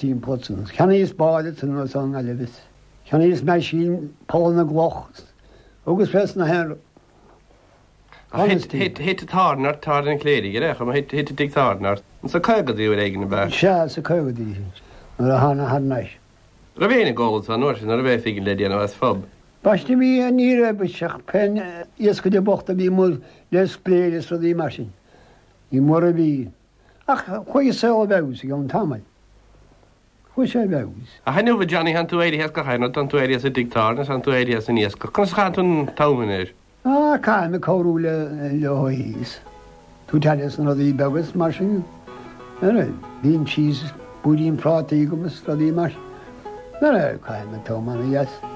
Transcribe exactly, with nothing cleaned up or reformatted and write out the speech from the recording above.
Timpeall san. Cheannaíos bád san nó san Gaillimh. Cheannaíos meaisín poll na gcloch agus fes na haon Thit táirne ort Tábhairne an Chléirigh ar chuma thit thit tigh tábhairne ort. Sna caogaidí uair éigin ab ea? Sea, sna caogaidí nuair a thána thar n-ais. Raibh éinne ag ól ansan uair sin, an raibh phingin le déanamh as phub? Baiste bhí ní raibh ach pén iascaire bocht a bhí amuigh le spléir is rudaí mar sin. Ní mór a bhí. Ach chuaigh an saol i bhfeabhas i gceann tamaill. Chuaigh sé i bhfeabhas. Ach inniu a Johnny, tánn tú éirithe as gach aon rud, tánn tú éirithe as an dtigh tábhairne, tánn tú éirithe as an iascach. Conas a chaitheann tú an t-am anois? Ah, caithim ag cabhrú le leo thíos. Tabhairt aire dos na rudaí beaga is mar sin. Bíonn síos búirín prátaí agam is rudaí mar sin. Caithim an t-am ana-dheas.